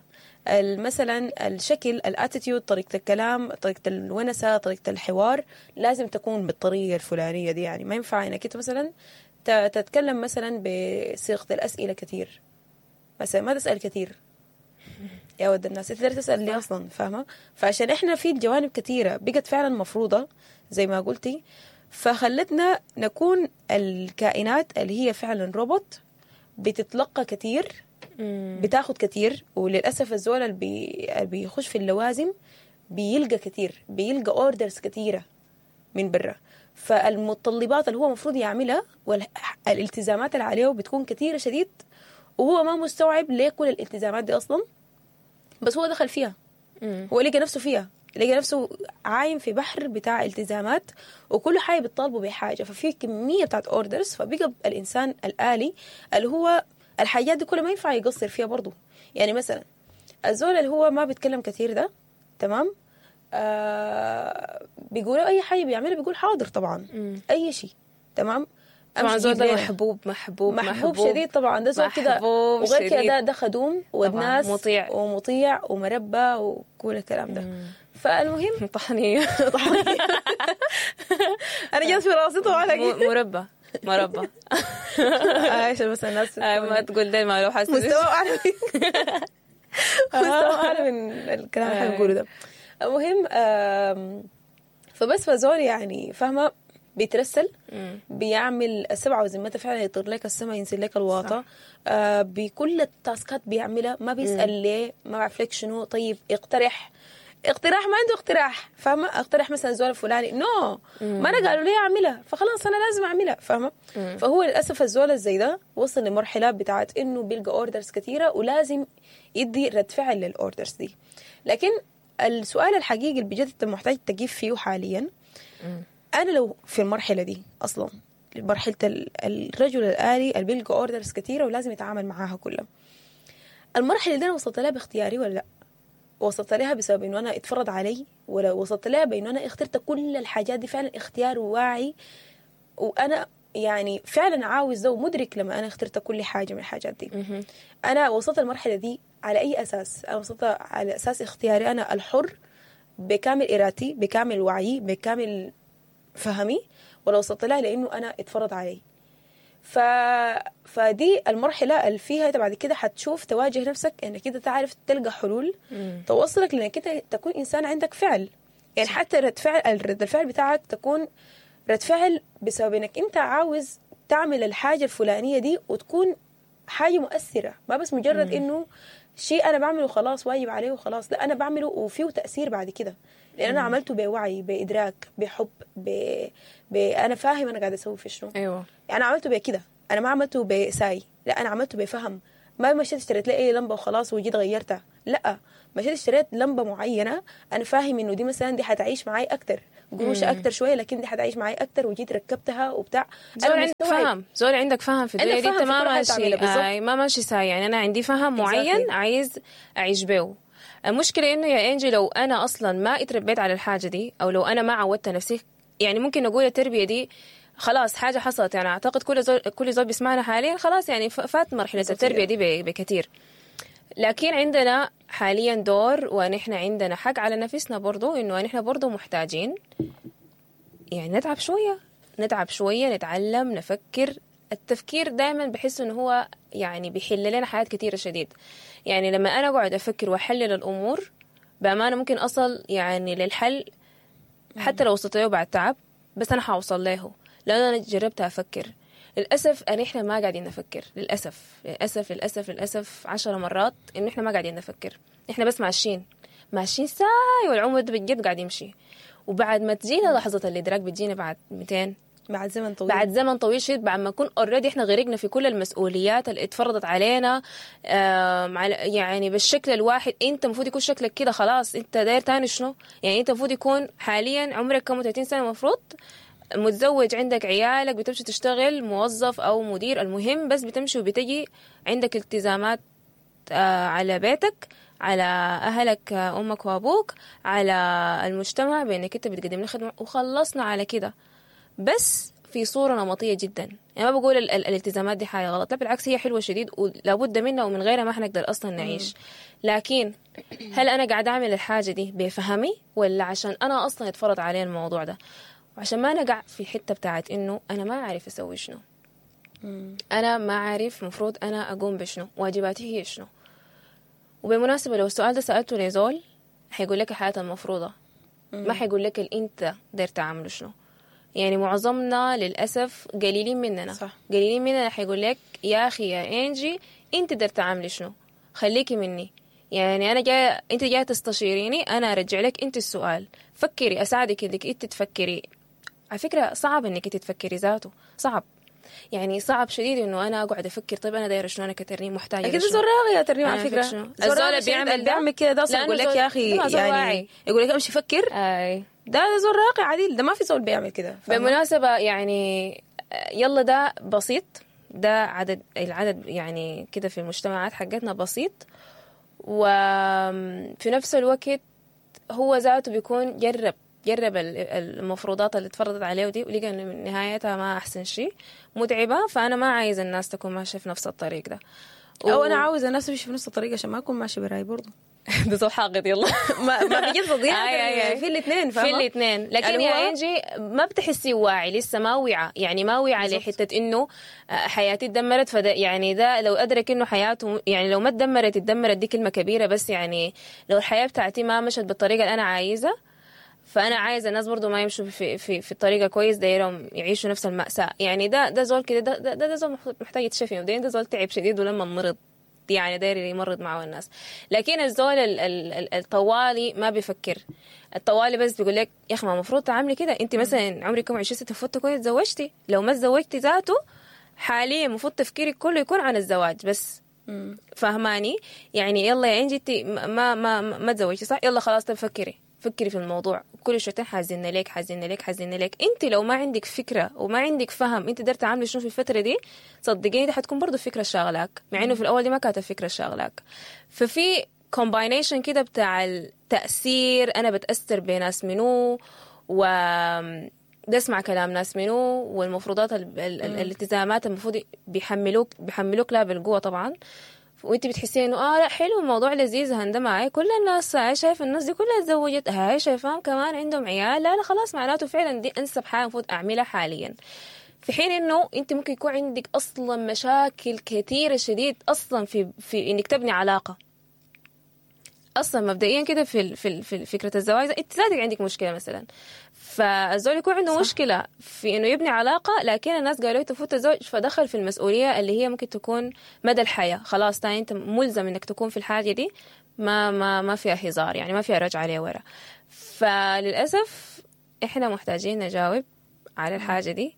Speaker 1: مثلا الشكل، ال attitude، طريقه الكلام، طريقه الونسه، طريقه الحوار لازم تكون بالطريقة الفلانية دي يعني. ما ينفع انك انت مثلا تتكلم مثلا بصيغة الاسئلة كثير، مثلا ما تسال كثير يا ود الناس، انت تسال ليه اصلا؟ فاهمه؟ فعشان احنا في جوانب كثيرة بقت فعلا مفروضة زي ما قلتي، فخلتنا نكون الكائنات اللي هي فعلا روبوت، بتتلقى كثير، بتاخد كثير. وللاسف الزول اللي بي... بيخش في اللوازم بيلقى كثير، بيلقى orders كثيرة من برا، فالمتطلبات اللي هو المفروض يعملها والالتزامات اللي عليه بتكون كثيرة شديد، وهو ما مستوعب ليه كل الالتزامات دي اصلا، بس هو دخل فيها. مم. هو لقى نفسه فيها، لقى نفسه عايم في بحر بتاع التزامات، وكل حاجة بتطالبه بحاجة، ففي كمية بتاعت orders. فبقى الانسان الالي اللي هو الحاجات دي كلها ما ينفع يقصر فيها برضو. يعني مثلا الزول اللي هو ما بيتكلم كثير ده، تمام، آه بيقولوا اي حاجة بيعملها بيقول حاضر طبعا. مم. اي شيء، تمام.
Speaker 2: طبعا زول ده محبوب محبوب
Speaker 1: محبوب, محبوب شديد طبعا، ده زول كده، وغير كده ده, ده خدوم ودناس مطيع ومطيع ومربى وكل الكلام ده. مم. فالمهم
Speaker 2: طحنيه
Speaker 1: طحنيه انا جت في راسي طبعا
Speaker 2: مربى مربى
Speaker 1: عشان بس الناس
Speaker 2: ما تقول ده ما لو حاسس
Speaker 1: مستوى اعلى مستوى اعلى من الكلام اللي احنا بنقوله ده. المهم فبس فزول يعني فاهمه بيترسل، بيعمل السبعة وزمتها فعلا، يطير لك السما، ينزل لك الواطه، آه بكل التاسكات بيعملها، ما بيسال ليه، ما بعرف لك شنو، طيب اقترح اقتراح، ما عنده اقتراح، فاهمه؟ اقترح مثلا زول الفلاني، no ما انا قالوا لي اعملها فخلاص انا لازم اعملها، فاهمه؟ فهو للاسف الزول زي ده وصل لمرحلة بتاعت انه بيلقى orders كثيرة ولازم يدي رد فعل لل orders دي. لكن السؤال الحقيقي اللي بجد انت محتاج تجيب فيه حاليا، انا لو في المرحلة دي اصلا، مرحلة الرجل الالي اللي بيلقى orders كثيرة ولازم يتعامل معاها كلها، المرحلة دي انا وصلت لها باختياري ولا لا؟ وصلت لها بسبب انه انا اتفرض علي، ولا وصلت لها بانه انا اخترت كل الحاجات دي فعلا اختيار واعي، وانا يعني فعلا عاوز ده ومدرك لما انا اخترت كل حاجة من الحاجات دي. انا وصلت المرحلة دي على اي اساس؟ انا وصلت على اساس اختياري انا الحر، بكامل ارادتي، بكامل وعيي، بكامل فهمي، ولا وصلت لها لانه انا اتفرض علي؟ ف... فدي المرحلة اللي فيها انت بعد كده حتشوف تواجه نفسك انك انت تعرف تلقى حلول مم. توصلك لانك انت تكون انسان عندك فعل، يعني حتى رد فعل، رد الفعل بتاعك تكون رد فعل بسبب انك انت عاوز تعمل الحاجة الفلانية دي وتكون حاجة مؤثرة، ما بس مجرد مم. انه شيء انا بعمله خلاص واجب عليه وخلاص، لا انا بعمله وفيه تاثير بعد كده، لان انا عملته بوعي، بادراك، بحب، ب... ب... انا فاهم انا قاعدة اسوي في شنو.
Speaker 2: ايوه
Speaker 1: يعني انا عملته بكده، انا ما عملته بساي، لا انا عملته بفهم، ما مشيت اشتريت لي اي لمبة وخلاص وجيت غيرتها، لا مشيت اشتريت لمبة معينة انا فاهم انه دي مثلا دي حتعيش معي اكتر، قروش اكتر شوية، لكن دي حتعيش معي اكتر، وجيت ركبتها وبتاع.
Speaker 2: زول عندك فهم، زول عندك فهم في الدنيا دي، انت ما ماشي آه ما ماشي ساي، يعني انا عندي فهم معين عايز اعيش بيه. المشكلة انه يا انجي لو انا اصلا ما اتربيت على الحاجة دي، او لو انا ما عودت نفسي، يعني ممكن نقول التربية دي خلاص حاجة حصلت، يعني اعتقد كل زول كل زول بيسمعنا حاليا خلاص يعني فات مرحلة التربية دي بكثير. لكن عندنا حاليا دور، ونحن عندنا حق على نفسنا برضو، انه نحن برضو محتاجين يعني نتعب شوية، نتعب شوية، نتعلم، نفكر. التفكير دائما بحس انه هو يعني بيحل لنا حاجات كثيرة شديد. يعني لما انا اقعد افكر واحلل الامور بامانه ممكن اصل يعني للحل، حتى لو وصلت له بعد تعب، بس انا حوصل له لان انا جربت افكر. للأسف أن إحنا ما قاعدين نفكر، للأسف للأسف للأسف للأسف عشر مرات إنه إحنا ما قاعدين نفكر، إحنا بس ماشيين ماشيين ساي، والعمر ده بجد قاعد يمشي. وبعد ما تجينا لحظة الإدراك بتجينا بعد مئتين،
Speaker 1: بعد زمن طويل،
Speaker 2: بعد زمن طويل شديد، بعد ما نكون already احنا غرقنا في كل المسؤوليات اللي اتفرضت علينا، يعني بالشكل الواحد. انت المفروض يكون شكلك كده خلاص، انت داير تاني شنو؟ يعني انت المفروض يكون حاليا عمرك كم، ثلاثين سنة المفروض متزوج عندك عيالك، بتمشي تشتغل موظف او مدير، المهم بس بتمشي وبتجي عندك التزامات آه على بيتك، على اهلك، آه، امك وابوك، على المجتمع بانك انت بتقدم له خدمة، وخلصنا على كده. بس في صورة نمطية جدا. يعني ما بقول ال ال الالتزامات دي حاجة غلط، لا بالعكس هي حلوة شديد ولابد منها، ومن غيرها ما حنقدر أصلا نعيش. لكن هل أنا قاعدة أعمل الحاجة دي بفهمي ولا عشان أنا أصلا اتفرض علي الموضوع ده؟ وعشان ما نقع في حتة بتاعت إنه أنا ما عارف أسوي شنو، أنا ما عارف مفروض أنا أقوم بشنو، واجباتي هي شنو. وبالمناسبة لو السؤال ده سألته لزول حيقول لك الحياة المفروضة، ما حيقول لك اللي أنت داير تعمله شنو. يعني معظمنا للأسف قليلين مننا،
Speaker 1: صح.
Speaker 2: قليلين مننا حيقول لك يا أخي يا إنجي أنت داير تعملي شنو، خليكي مني، يعني أنا جاي، أنت جاية تستشيريني، أنا أرجع لك أنت السؤال، فكري، أساعدك إنك أنت تفكري. على فكرة صعب إنك أنت تفكري ذاته، صعب يعني صعب شديد إنه أنا أقعد أفكر طيب أنا دايرة شنو، أنا كترنيم محتاجة
Speaker 1: أكيد
Speaker 2: شنو.
Speaker 1: زول راغي يا ترنيم على
Speaker 2: أنا
Speaker 1: فكرة.
Speaker 2: فكرة شنو.
Speaker 1: زول
Speaker 2: الزول
Speaker 1: راغي
Speaker 2: اللي
Speaker 1: شديد
Speaker 2: بيعمل
Speaker 1: اللي
Speaker 2: ده
Speaker 1: بيعمل كده ده أصلا
Speaker 2: لأنه
Speaker 1: يقول لك
Speaker 2: زول-
Speaker 1: يا أخي
Speaker 2: ده زول
Speaker 1: يعني
Speaker 2: واعي.
Speaker 1: يقول لك أمشي فكر،
Speaker 2: أي.
Speaker 1: ده ده زول راقي عديل، ده ما في زول بيعمل كده. فاهمة؟
Speaker 2: بالمناسبة يعني يلا ده بسيط، ده عدد العدد يعني كده في المجتمعات حقتنا بسيط، وفي نفس الوقت هو ذاته بيكون جرب جرب ال- المفروضات اللي اتفرضت عليه دي، ولقى انه من نهايتها ما احسن شيء، متعبة. فانا ما عايز الناس تكون ماشية في نفس الطريق ده،
Speaker 1: او انا عاوز الناس تمشي في نفس الطريق عشان ما اكون ماشي براي برضه.
Speaker 2: ده زول حاقد. يلا
Speaker 1: ما ما بيجي تضيع
Speaker 2: أي أي أي.
Speaker 1: في الاثنين،
Speaker 2: في الاثنين. لكن
Speaker 1: يعني
Speaker 2: يا
Speaker 1: هو-
Speaker 2: انجي ما بتحسي واعي لسه، ما وعى يعني ما وعى لحته انه آه، حياتي اتدمرت. فده يعني ده لو ادرك انه حياته يعني لو ما اتدمرت، اتدمرت دي كلمة كبيرة، بس يعني لو الحياة بتاعتي ما مشت بالطريقة اللي انا عايزه، فانا عايزه الناس برضو ما يمشوا في في في الطريقة كويس، دايرهم يعيشوا نفس المأساة. يعني ده ده زول كده، ده ده, ده زول محتاج يتشفي مبدئيا، ده زول تعب شديد ولما مرض يعني داير يمرض معه الناس. لكن الزول ال- ال- ال- الطوالي ما بيفكر، الطوالي بس بيقول لك يا اخي ما المفروض تعملي كده، انت مثلا عمرك كم عشرين سنة المفروض تكوني تزوجتي، لو ما تزوجتي ذاته حاليا المفروض تفكيرك كله يكون عن الزواج بس. فهماني يعني؟ يلا يا انجي انت ما ما ما, ما تزوجتي صح، يلا خلاص طب فكري فكري في الموضوع، كل شويتين حازلنا لك حازلنا لك حازلنا لك. انت لو ما عندك فكرة وما عندك فهم انت قدرت تعملي شنو في الفترة دي، صدقيني دي حتكون برضو فكرة شاغلاك، مع انه في الاول دي ما كانت الفكرة شاغلاك. ففي combination كده بتاع التاثير، انا بتاثر بناس منو، و ده اسمع كلام ناس منو، والمفروضات ال... ال... ال... الالتزامات المفروض بيحملوك بيحملوك لا بالقوة طبعا، وانت بتحسي انه اه لا حلو الموضوع لذيذ، هندم هاي كل الناس هاي شايف الناس دي كلها اتزوجت، هاي شايفاهم كمان عندهم عيال، لا لا خلاص معناته فعلا دي انسب حاجة المفروض اعملها حاليا. في حين انه انت ممكن يكون عندك اصلا مشاكل كثيرة شديد اصلا في في انك تبني علاقة اصلا مبدئيا كده في ال- في ال- في فكرة الزواج انت ذاتك عندك مشكلة مثلا، فالزول يكون عنده صح. مشكلة في انه يبني علاقة، لكن الناس قالوا له تفوت الزوج، فدخل في المسؤولية اللي هي ممكن تكون مدى الحياة، خلاص تاني انت ملزم انك تكون في الحاجة دي، ما ما ما فيها هزار يعني، ما فيها رجعه لورا. فللاسف احنا محتاجين نجاوب على الحاجة دي،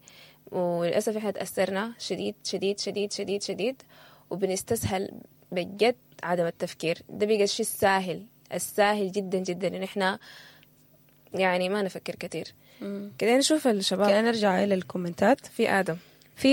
Speaker 2: وللاسف احنا تاثرنا شديد شديد شديد شديد شديد، وبنستسهل بجد عدم التفكير ده، بقى الشيء الساهل الساهل جدا جدا ان احنا يعني ما نفكر كثير كده. نشوف الشباب
Speaker 1: كده نرجع الى الكومنتات.
Speaker 2: في ادم.